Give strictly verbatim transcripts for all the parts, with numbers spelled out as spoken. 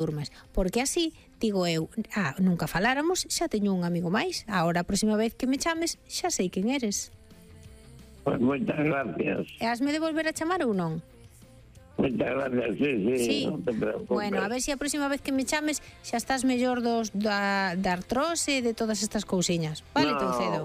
durmes. Porque así, digo eu, ah, nunca faláramos, xa teño un amigo máis. Agora, a próxima vez que me chames, xa sei quen eres. Pois moitas gracias. E hasme de volver a chamar ou non? Moitas gracias, sí, sí, Sí. non te preocupes. Bueno, a ver se a próxima vez que me chames xa estás mellor dos da, da artrose e de todas estas cousiñas. Vale, no, Toucedo?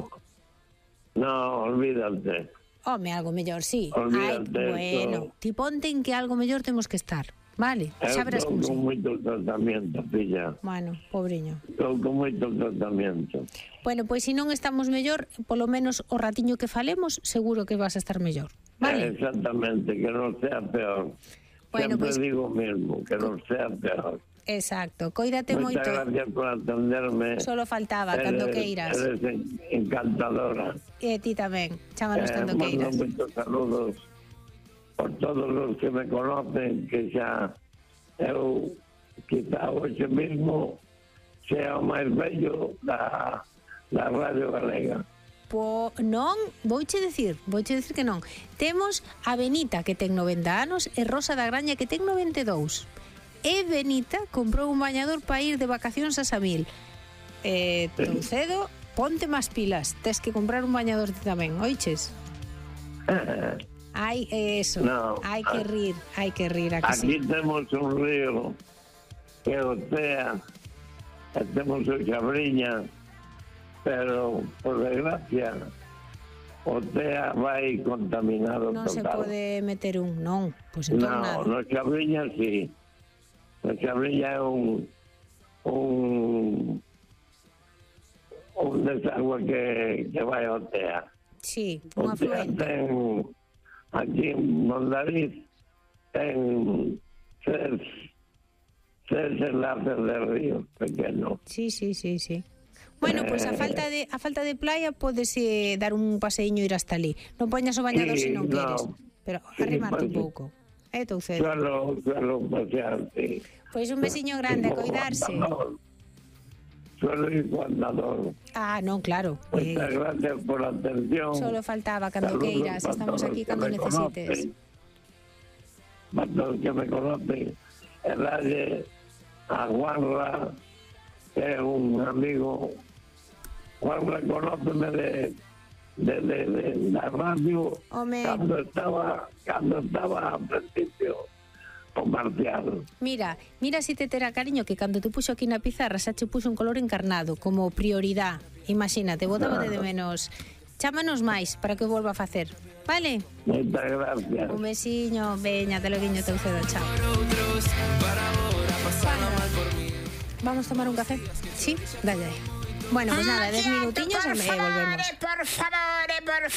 No, olvídate. Home, algo mellor, sí. Olvídate. Ai, bueno, ti ponte en que algo mellor temos que estar. Vale, xa verás como Estou sí. con moito tratamento, filla. Bueno, pobriño. Estou con moito tratamento. Bueno, pois se non estamos mellor, polo menos o ratiño que falemos, seguro que vas a estar mellor. Vale? Eh, exactamente, que non sea peor. Bueno, Sempre pois- digo o mismo, que non sea peor. Exacto, coídate moito. Moitas gracias por atenderme. Solo faltaba, cando queiras. Eres en- encantadora. E ti tamén, chámanos Eh, cando mando queiras. moitos saludos por todos os que me conocen, que xa eu quizá hoxe mismo sea o máis bello da, da Radio Galega. Po, non, vouche decir, vouche decir que non. Temos a Benita, que ten noventa anos, e Rosa da Graña, que ten noventa e dous. E Benita comprou un bañador para ir de vacacións a Samil. Eh, Toucedo, ponte máis pilas, tes que comprar un bañador ti tamén, oiches? Hai eso, No. hai que rir, hai que rir, a que Aquí sí. temos un río que o Tea, e temos o Xabriña, pero, por desgracia, o Tea vai contaminado Non se total. pode meter un, non, pois entón No, nada. no Xabriña sí. No Xabriña é un un un desagüe que, que vai ao Tea. Sí, O un Tea afluente. ten, aquí en Mondariz, ten tres, tres enlaces de río pequenos. Sí, sí, sí, sí. Bueno, pois pues a falta de a falta de playa podese dar un paseíño e ir hasta ali. Non poñas o bañador Sí, se non no. queres, pero Sí, arrimarte un pues, pouco. Eh, Toucedo. Suelo, suelo pasear, sí. Pois un besiño grande, a Como coidarse. andador. Suelo ir con andador. Ah, non, claro. Eh, Muchas gracias por la atención. solo faltaba cando Saludos queiras, para estamos todos aquí que cando me necesites. conocen. Para todos que me conocen, el aire a Juanra, que es un amigo. Juanra conóceme de, de, de, de la radio Home. cuando estaba, cuando estaba al principio con Marcial. Mira, mira si te terá cariño que cando te puxo aquí na pizarra xa che puxo un color encarnado como prioridad. Imagínate, botaba de menos. Chámanos máis para que o volva a facer. Vale? Muchas gracias. Un besiño, veña, te lo guiño, Toucedo, chao. Vamos a tomar un café? Sí, dale. Bueno, pues nada, diez minutiños e me volvemos. Por favor, por